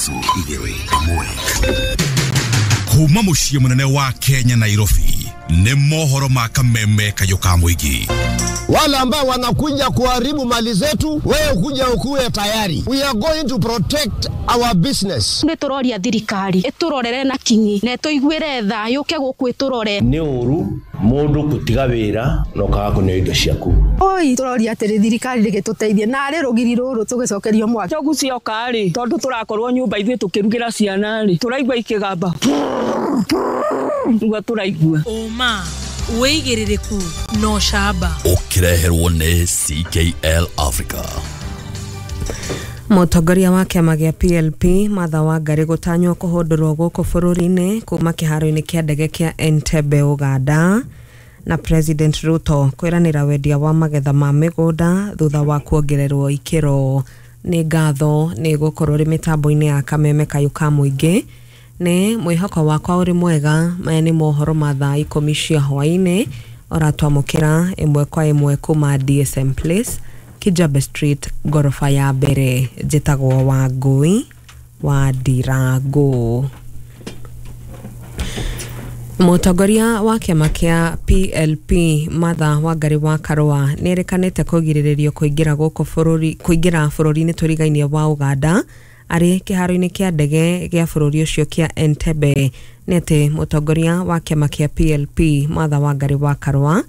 3 1. Kuma muciĩ mũnene wa Kenya Nairobi nĩ mohoro ma kameme kayũ ka mũingĩ. Wale ambao wanakuja kuharibu mali zetu, wewe kuja ukuwe tayari. We are going to protect our business. Nĩ tũroria thirikari ĩtũrorere na kinyi na ĩtũiguĩre tha yũke gũkũ ĩtũrore. Nĩ ũru mũndũ gũtiga wĩra na ũkaga kũneo indo ciaku. Oi tũroria atĩrĩ thirikari rĩgĩtũteithie narĩ rũgiri rũrũ tũgĩcokerio mwaki. Njogu cioka rĩ tondũ tũrakorwo nyũmba ithuĩ tũkĩrugĩra ciana rĩ tũraigua ikĩgamba nĩguo tũraigua. Ũma wĩigĩrĩrĩku no camba ũkĩreherwo nĩ CKL Africa. Mũtongoria wa kĩama gĩa PLP Martha Wangari gũtanywo kũhũndũrwo gũkũ bũrũri-inĩ kuma kĩharo-inĩ kĩa ndege kĩa Entebbe Uganda, na President Ruto kwĩranĩra wendia wa magetha ma mĩgũnda thutha wa kuongererwo ikĩro. Nĩ ngatho nĩ gũkorwo rĩ mĩtambo-inĩ ya kameme kayũ ka mũingĩ. Nĩ mwĩhoko wakwa ũrĩ mwega. Maya nĩ mohoro ma thaa 10 cia hwaĩ-inĩ ũratwamũkĩra ĩmwe kwa ĩmwe kuma DSM Place, Kijabe Street, ngoroba ya mbere. Njĩtagwo Wangũi wa Ndirango. Mũtongoria wa kĩama kĩa PLP Martha Wangari wa Karũa nĩerĩkanĩte kũgirĩrĩrio kũingĩra gũkũ bũrũri kũingĩra bũrũri-inĩ tũrigainie wa Uganda arĩ kĩharo-inĩ kĩa ndege gĩa bũrũri ũcio kĩa Entebbe. Nĩ atĩ mũtongoria wa kĩama kĩa PLP Martha Wangari wa Karũa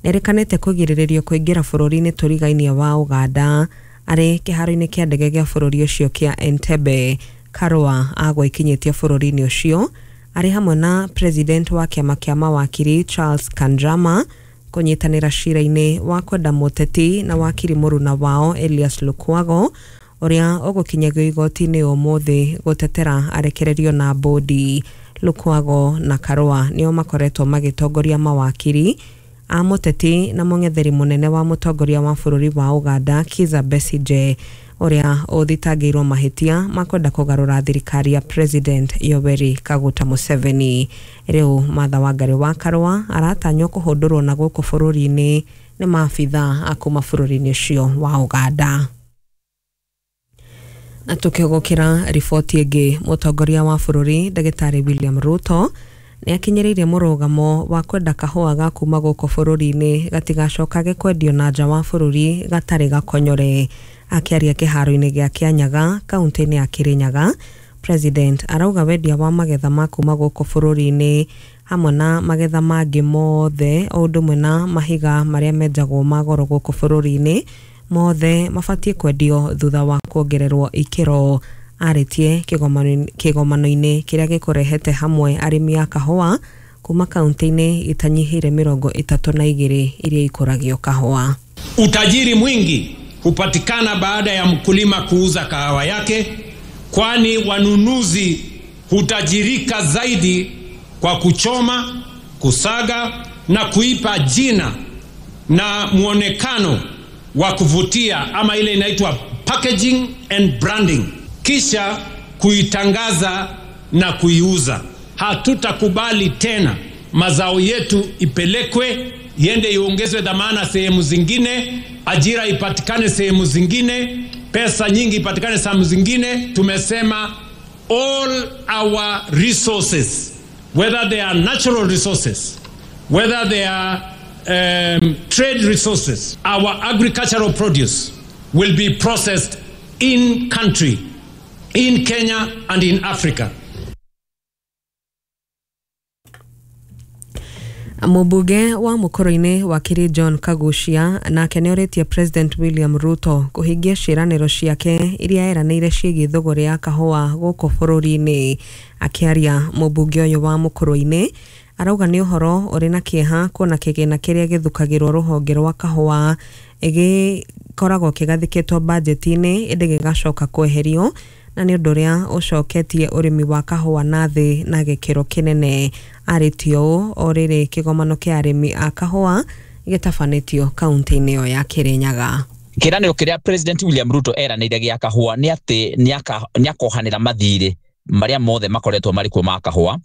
nĩerĩkanĩte kũgirĩrĩrio kũingĩra bũrũri-inĩ tũrigainie wa Uganda arĩ kĩharo-inĩ kĩa ndege gĩa bũrũri ũcio kĩa Entebbe. Karũa agwa ikinyĩtie bũrũri-inĩ ũcio arĩ hamwe na president wa kĩama kĩa mawakiri Charles Kanjama kũnyitanĩra cira-inĩ wa kwenda mũteti na wakiri mũruna wao Elias Lukwago ũrĩa ũgũkinyagio igoti-inĩ ũmũthĩ gũtetera arekererio na bodi. Lukwago na Karũa nĩo makoretwo magĩtongoria mawakiri a mũteti na mũng'etheri mũnene wa mũtongoria wa bũrũri wa Uganda Kizza Besigye ũrĩa ũthitangĩirwo mahĩtia ma kwenda kũgarũra thirikari ya President Yoweri Kaguta Museveni. Rĩu Martha Wangari wa Karũa aratanywo kũhũndũrwo na gũkũ bũrũri-inĩ nĩ maabitha a kuma bũrũri-inĩ ũcio wa Uganda. Na tukĩgũkĩra riboti ĩngĩ, mũtongoria wa bũrũri Ndagĩtarĩ William Ruto nĩ akinyĩrĩirie mũrũgamo wa kwenda kahũa ga kuma gũkũ bũrũri-inĩ gatigacokage kwendio na nja wa bũrũri gatarĩ gakonyore. Akĩaria kĩharo-inĩ gĩa Kĩanyaga kaunti-inĩ ya Kĩrĩnyaga, President arauga wendia wa magetha ma kuma gũkũ bũrũri-inĩ hamwe na magetha mangĩ mothe o ũndũ ũmwe na mahiga marĩa menjagwo ma goro gũkũ bũrũri-inĩ mothe mabatiĩ kwendio thutha wa kuongererwo ikĩro. Arĩtie kĩgomano-inĩ kĩrĩa gĩkũrehete hamwe arĩmi a kahũa kuma kaunti-inĩ itanyihĩire 32 iria ikũragio kahũa. Utajiri mwingi hupatikana baada ya mkulima kuuza kahawa yake, kwani wanunuzi hutajirika zaidi kwa kuchoma, kusaga na kuipa jina na muonekano wa kuvutia, ama ile inaitwa packaging and branding, kisha kuitangaza na kuiuza. Hatutakubali tena mazao yetu ipelekwe iende iongezwe dhamana sehemu zingine, ajira ipatikane sehemu zingine, pesa nyingi ipatikane sehemu zingine. Tumesema all our resources, whether they are natural resources, whether they are trade resources, our agricultural produce will be processed in country, in Kenya and in Africa. Mũmbunge wa mũkũrũ-inĩ wakiri John Kaguchia nake nĩorĩtie President William Ruto kũhingia ciĩranĩro ciake iria eranĩire ciĩgiĩ thũgũrĩ ya kahũa gũkũ bũrũri-inĩ. Akĩaria mũmbunge ũyũ wa mũkũrũ-inĩ arauga nĩ ũhoro ũrĩ na kĩeha kuona kĩgĩna kĩrĩa gĩthukagĩrwo rũhonge rwa kahũa gĩkoragwo kĩgathĩkĩtwo bajeti-inĩ ĩndĩ gĩgacoka kweherio, na nĩ ũndũ ũrĩa ũcoketie ũrĩmi wa kahũa na thĩ na gĩkĩro kĩnene. Arĩtie ũũ o rĩrĩ kĩgomano kĩa arĩmi a kahũa gĩtabanĩtio kaunti-inĩ ĩyo ya Kĩrĩnyaga. Kĩranĩro kĩrĩa President William Ruto eranĩire gĩa kahũa nĩ atĩ nĩakohanĩra mathirĩ marĩa mothe makoretwo marĩ kuo ma kahũa,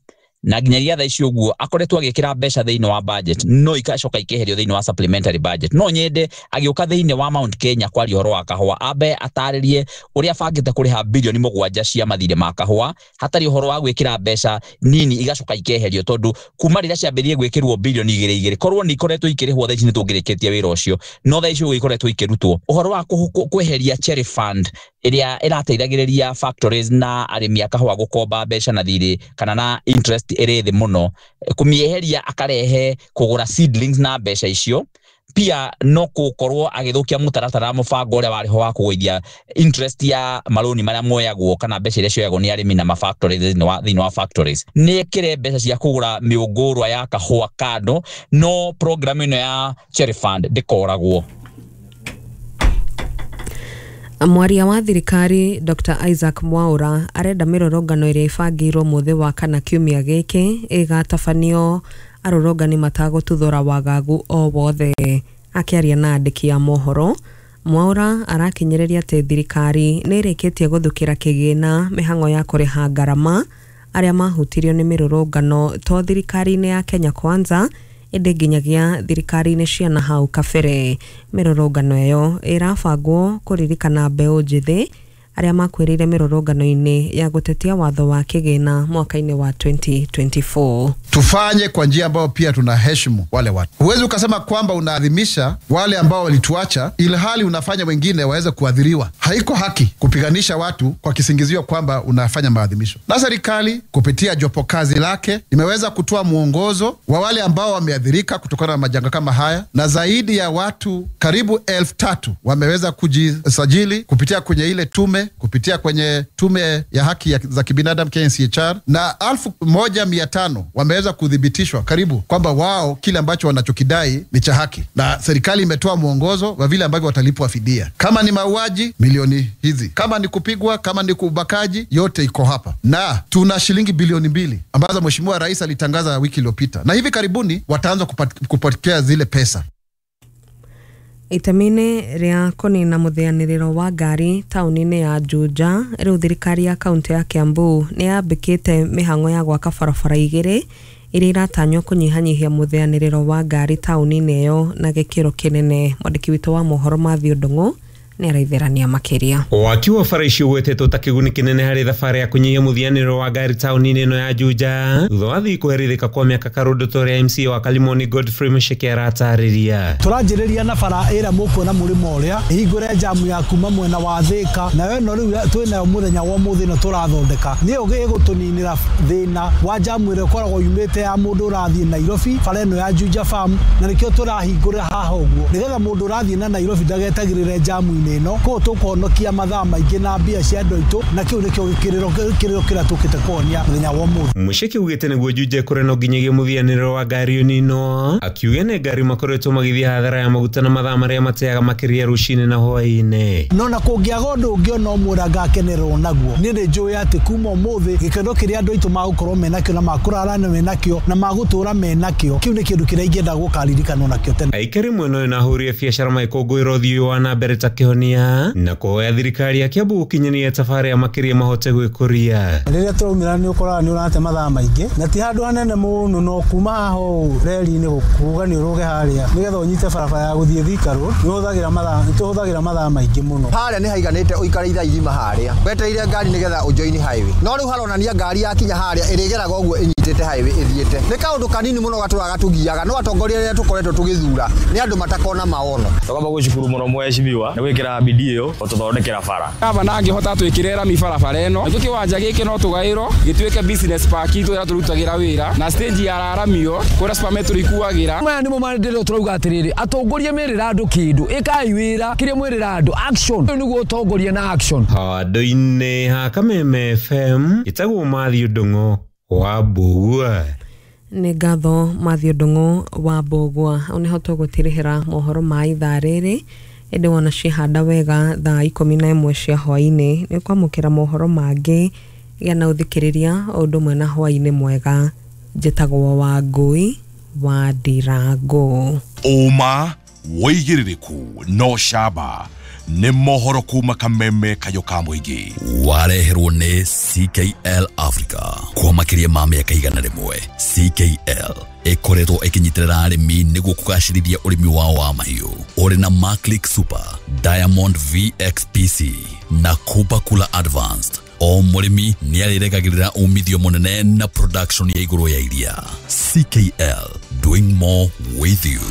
Na nginyagia thaa ici ũguo akoretwo agĩkĩra mbeca thĩinĩ wa budget no ikacoka ikeherio thĩinĩ wa supplementary budget. No nyende agĩũka thĩinĩ wa Mount Kenya kwaria ũhoro wa kahũa ambe atarĩrie ũrĩa abangĩte kũrĩha bilioni 7 cia mathirĩ ma kahũa hatarĩ ũhoro wa gwĩkĩra mbeca nini igacoka ikeherio, tondũ kuma rĩrĩa ciambĩrĩrie gwĩkĩrwo bilioni 2 korwo nĩ ikoretwo ikĩrĩhwo thaa ici nĩ tũngĩrĩkĩtie wĩra ũcio, no thaa ici ũguo ikoretwo ikĩrutwo. Ũhoro wa kweheria cherry fund ĩrĩa ĩrateithagĩrĩria factories na arĩmi a kahũa gũkomba mbeca na thirĩ kana na interest ĩrĩ thĩ mũno, kũmĩeheria akarehe kũgũra seedlings na mbeca icio, pia no gũkorwo agĩthũkia mũtaratara mũbango ũrĩa warĩ ho wa kũgũithia interest ya marũni marĩa moyagwo kana mbeca iria cioyagwo nĩ arĩmi na mafactories thĩinĩ wa factories. Nĩ ekĩre mbeca cia kũgũra mĩũngũrwa ya kahũa kando, no program ĩno ya Cherry Fund ndĩkoragwo. Mwaria wa thirikari Dr. Isaac Mwaura arenda mĩrũrũngano ĩrĩa ĩbangĩirwo mũthĩ wa kana kiumia gĩkĩ ĩgatabanio arũrũngani matagũtuthũra wagagu o wothe. Akĩaria na andĩki a mohoro, Mwaura arakinyĩrĩria atĩ thirikari nĩ ĩrĩkĩtie gũthukĩra kĩgĩna mĩhang'o ya kũrĩha ngarama arĩa mahutirio nĩ mĩrũrũngano to thirikari-inĩ ya Kenya Kwanza ĩndĩ nginyagia thirikari-inĩ cia na hau kabere. Mĩrũrũngano ĩyo ĩrabangwo kũririkana mbeũ njĩthĩ arĩa makuĩrĩire mĩrũrũngano-inĩ ya gũtetia watho wa kĩgĩna mwaka-inĩ wa 2024. Tufanye kwa njia ambayo pia tunaheshimu wale watu. Huwezi ukasema kwamba unaadhimisha wale ambao walituacha ilhali unafanya wengine waweze kuadhiriwa. Haiko haki kupiganisha watu kwa kisingizio kwamba unafanya maadhimisho. Na serikali kupitia jopo kazi lake imeweza kutoa mwongozo wa wale ambao wameadhirika kutokana na majanga kama haya, na zaidi ya watu karibu 3,000 wameweza kujisajili kupitia kwenye ile tume, kupitia kwenye tume ya haki za kibinadamu KNCHR, na 1,500 wameweza kuthibitishwa karibu kwamba wao kile ambacho wanachokidai ni cha haki, na serikali imetoa mwongozo wa vile ambavyo watalipwa fidia. Kama ni mauaji, milioni hizi, kama ni kupigwa, kama ni kubakaji, yote iko hapa. Na tuna shilingi bilioni 2 ambazo Mheshimiwa Rais alitangaza wiki iliyopita, na hivi karibuni wataanza kupokea zile pesa. Itamine rĩa kũnina mũthĩanĩrĩro wa ngari taũni-inĩ ya Juja, rĩu thirikari ya kaunti ya Kiambu nĩ yambĩkĩte mĩhang'o ya gwaka barabara 2 iria iratanywo kũnyihanyihia mũthĩanĩrĩro wa ngari taũni-inĩ ĩyo na gĩkĩro kĩnene. Mwandĩki witũ wa mohoro Mathew Ndung'u nĩ araitherania makĩria. Waki wa bara icio ũgwetetwo ta kĩguni kĩnene harĩ thabarĩ ya kũnyihia mũthianĩro wa ngari taũni-inĩ ĩno ya Juja thutha wa thii kũherithĩka kwa mĩaka karũndũ ta ũrĩa MCA wa Kalimoni Godfrey Musheke aratarĩria. Tũranjĩrĩria na bara ĩrĩa mũkuona mũrĩmo ũrĩa ĩhingũre jamu ya kuma mwena wa Thika, nayo ĩno rĩu twĩnayo mũthenya wa ũmũthĩ ĩno tũrathondeka nĩyo ĩgũtũninĩra thĩna wa jamu ĩrĩa ĩkoragwo yumĩte ya mũndũ ũrathiĩ Nairobi, bara ĩno ya Juja Farm, na nĩkĩo tũrahingũra haha ũguo nĩgetha mũndũ ũrathiĩ na Nairobi ndagetagĩrĩre jamu ĩno koguo tũkũhonokia mathaa maingĩ na mbia cia andũ aitũ, na kĩu nĩkĩo kĩrĩro kĩrĩa tũkĩte kũhonia mũthenya wa ũmũthĩ. Musheke augĩte nĩguo Juja ĩkũre no nginyagia mũthianĩro wa ngari ũninwo, akiuga nĩ ngari makoretwo magĩthiĩ hathara ya maguta na mathaa marĩa mateaga makĩria rũcinĩ na hwaĩ-inĩ. No na kũngĩaga ũndũ ũngĩ ona ũmwe ũrĩa ngakenerwo naguo, niĩ nĩ njũĩ atĩ kuma ũmũthĩ gĩkeno kĩrĩa andũ aitũ magũkorwo menakĩo na makũrara menakĩo na magũtũra menakĩo, kĩu nĩ kĩndũ kĩrĩa ingĩenda gũkaririkanwo nakĩo tene. Aikari mwena ũyũ na ahũri a biacara magĩkũngũĩra ũthiĩ wa na mbere ta kĩhonia na kũhoya thirikari ya Kiambu gũkinyania thabarĩ ya makĩria mahote gwĩkũria. Rĩrĩa tũraumĩra nĩ ũkoraga nĩ ũrate mathaa maingĩ na ti handũ hanene mũno, no kuma haha ũũ reri-inĩ kuga nĩ ũrũge harĩa nĩgetha ũnyite barabara ya gũthiĩ Thika Road nĩ tũhũthagĩra mathaa maingĩ mũno. Harĩa nĩ haiganĩte ũikare ithaa igima harĩa wetereire ngari nĩgetha ũjoini highway, no rĩu haronania ngari yakinya harĩa ĩrĩgeraga ũguo ĩnyitĩte highway ĩthiĩte. Nĩ kaũndũ kanini mũno gatũraga tũgiaga, no atongoria arĩa tũkoretwo tũgĩthura nĩ andũ matakona maono. Tũkamba gũcukuru mũno mheshimiwa nĩ gwĩkĩra bidii ĩyo gũtũthondekera bara. Gavana angĩhota twĩkĩre rami barabara ĩno, nakĩo kĩwanja gĩkĩ no tũgaĩrwo gĩtuĩke business park itũ ĩrĩa tũrutagĩra wĩra na stage ya raramio kũrĩa Super ikuagĩra. Maya nĩmo mandĩrĩro tũrauga atĩrĩrĩ, atongoria merĩra andũ kĩndũ, ĩkai wĩra kĩrĩa mwĩrĩra andũ, action ũyũ nĩguo ũtongoria na action. Handũ-inĩ ha Kameme FM ĩtagwo Mathew Ndung'u wa Mbũgua. Nĩ ngatho Mathew Ndung'u wa Mbũgua. Hau nĩho tũgũtirihĩra mohoro ma ithaa rĩrĩ, ĩndĩ wona ciahanda wega thaa 11 cia hwaĩ-inĩ nĩ ũkwamũkĩra mohoro mangĩ gĩa na ũthikĩrĩria o ũndũ ũmwe na hwaĩ-inĩ mwega. Njĩtagwo Wangũi wa Ndirango. Ũma wĩigĩrĩrĩku no camba. Nĩ mohoro kuma kameme kayũ ka mũingĩ. Wareherwo nĩ CKL Africa. Kwa makĩria ma mĩaka 100, CKL ĩkoretwo ĩkĩnyitĩrĩra arĩmi nĩguo kũgacĩrithia ũrĩmi wao wa mahiũ. Ũrĩ na Maclick Super, Diamond VXPC na Cooper Cooler Advanced, o mũrĩmi nĩ arĩregagĩrĩra umithio mũnene na production ya igũrũ ya iria. CKL, doing more with you.